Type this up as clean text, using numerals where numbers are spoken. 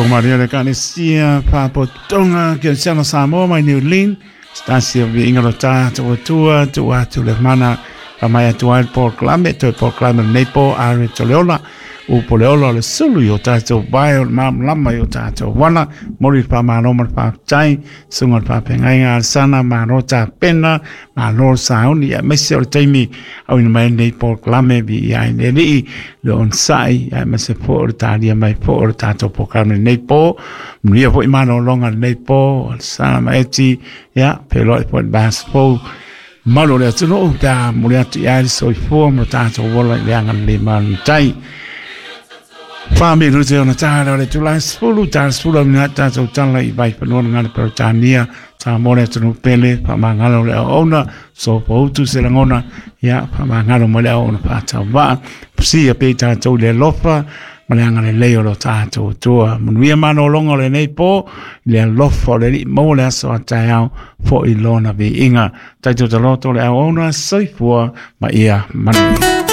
Maria le Ekalesia Faapotopotoga Kerisiano Samoa mai New Zealand, se tasi o viiga o lo tatou Atua tuu atu le mana faamai atu ai le polokalame, toe polokalame o lenei po are to le ola upu o le ola o le sulu i o tatou vae o le malamalama i o tatou vala. Momoli le faamalo ma le faafetai susuga i le faafeagaiga Alesana, malo tapena, malo le sauni, aemaise o le taimi auina mai ai lenei polokalame. Viia ai le Alii le onosai, aemaise foi o le talia mai foi o le tatou polokalame lenei po. Manuia foi malologa lenei po Alesana ma Eti, ia feiloai foi i le vaiaso fou malu o le atunuu pe a momoli atu i ai le soifua ma lo tatou ola i le agalelei malumatai. 4 minute ona ta lea o le itula e 10, ta 10 au minute tatou tala i Vaifanua le Gala Peretania, Samoa le atunuu pele, faamagalo le auauna, sopoutu se lagona, ia faamagalo mai le auauna faatauvaa, fusia pea i tatou i le alofa ma le agalelei o lo tatou Atua. Manuia malologa o lenei po i le alofa o le Alii, maua le aso a taeao foi lona viiga. Tatou taloto le auauna, soifua ma ia manuia.